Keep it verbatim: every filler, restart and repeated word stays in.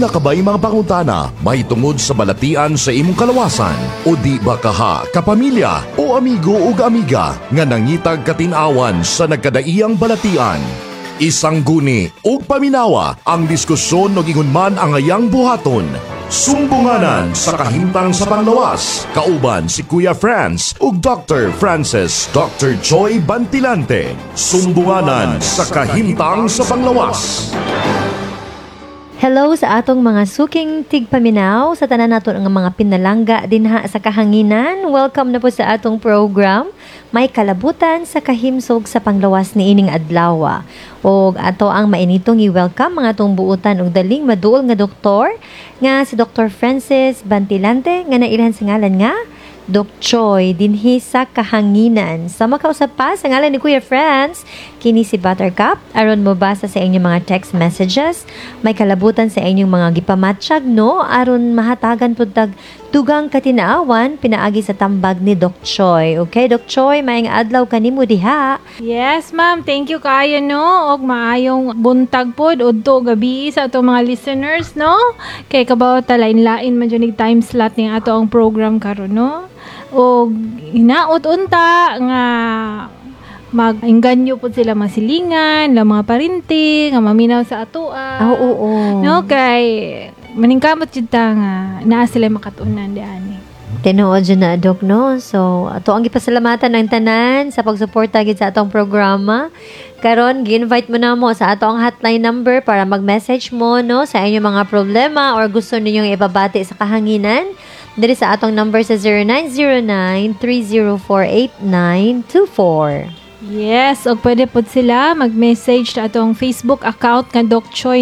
Duna ka ba'y mga pangutana mahitungod sa balatian sa imong kalawasan o di ba kaha kapamilya o amigo ug amiga nga nangitag katin-awan sa nagkadaiyang balatian? Isangguni ug paminawa ang diskusyon ug ingon man ang ayang buhaton. Sumbunganan sa kahimtang sa panglawas. Kauban si Kuya Franz ug Doctor Francis Doctor Joy Bantilante. Sumbunganan sa kahimtang sa panglawas. Hello sa atong mga suking tigpaminaw sa tanan naton nga mga pinalangga dinha sa kahanginan. Welcome na po sa atong program. May kalabutan sa kahimsog sa panglawas ni ining adlaw. Og ato ang mainitong i-welcome mga atong buutan og daling maduol nga doktor nga si Doctor Francis Bantilante nga nailhan sa ngalan nga Doc Choi dinhi sa kahanginan. Sa makausap pa sa ngalan ni Kuya Franz, kini si Buttercup, aron mo basa sa inyong mga text messages, may kalabutan sa inyong mga gipamatsyag, no, aron mahatagan pud tag dugang katinaawan pinaagi sa tambag ni Doc Choi. Okay, Doc Choi, maayong adlaw kanimo diha. Yes, ma'am. Thank you kaayo, no. Og maayong buntag pod udto gabi sa ato mga listeners, no. Kay kabaw ta lain-lain man jud time slot ning ato ang program karon, no. Og hinaot unta nga mag-inganyo pod sila mga silingan, la mga parinti nga maminaw sa atoa. Ah, oo, oo. No, kay maningkamot jud ta nga naa sila makatunan diani. Tinuod jud na, Dok, no? So, ato ang gipasalamatan ang tanan sa pagsuporta gid sa atong programa. Karon, gi-invite mo na mo sa ato ang hotline number para mag-message mo, no, sa inyong mga problema or gusto ninyong ipabati sa kahanginan. Diri sa atong number sa zero nine zero nine, three zero four, eight nine two four. Yes, og pwede pod sila mag-message sa atong Facebook account nga Doc Choi, no.